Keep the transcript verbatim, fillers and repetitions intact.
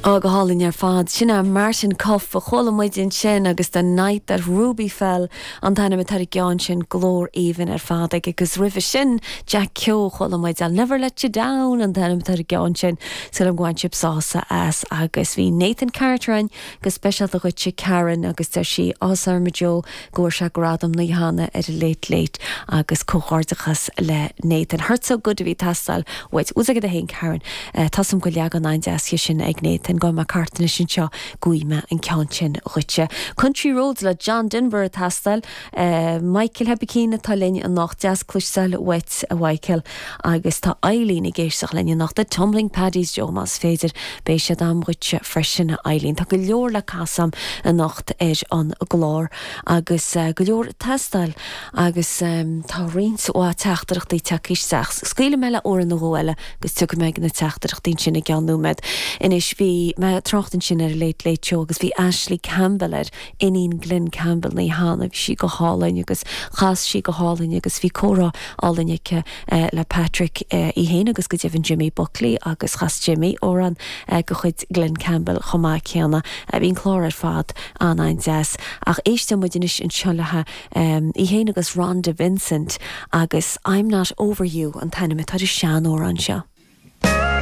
Á go hálainn ar fad sin é Martin Cuff a chuala muid ansin agus The Night That Ruby Fell an t-ainm atá ar an gceann sin glór aoibhinn ar fad ag agus roimhe sin Jack Keogh chuala muid I'll never let you down an t-ainm atá ar an gceann sin Súil go bhfuil sibh sásta as agus bhí Nathan Carter ann go speisialta dhuitse Karen agus deir sí áthas ar Joe go bhfuair sé gradam na hAnna ar a Late Late agus comhghairdeachas le Nathan. Hurt so good a bhí ag teastáil uait ús agad a haon Karen uh, Tásam go leagan an-deas sin ag Nathan go ma cartan sin seo gúi me an ceann sin dhuitse. Country Roads le John Denver ag teastáil uh, Michael Hebicín atá linn anocht deas cloisteáil uait a Michael agus tá Eileen ag éisteacht linn anocht The Tumbling Paddies Joe más féidir beidh sé am dhuitse freisin Eileen. Tá go leor le casadh anocht ar an gclár agus uh, go leor ag teastáil agus um, tá roinnt mhaith teachtaireachtaí tagtha isteach. Scaoilfidh mé le amhrán nó dhó eile agus tiocfaidh mé na teachtaireachtaí sin i gceann nóiméad. Anois bhí mé ag trácht ansin ar Late Late Show agus bhí Ashley Campbell ar iníon Glenn Campbell ní hána bhí sí go hálainn agus chas sí go hálainn agus bhí comhrá álainn aici uh, le Patrick uh, í héin agus go deimhin Jimmy Buckley agus chas Jimmy amhrán uh, de chuid Glenn Campbell chomh maith céanna uh, bhí an clár ar fad an-an-deas ach éisteann muid anois anseo le um, í héin agus Rhonda Vincent agus I'm not over you an t-ainm atá ar an seanamhrán seo.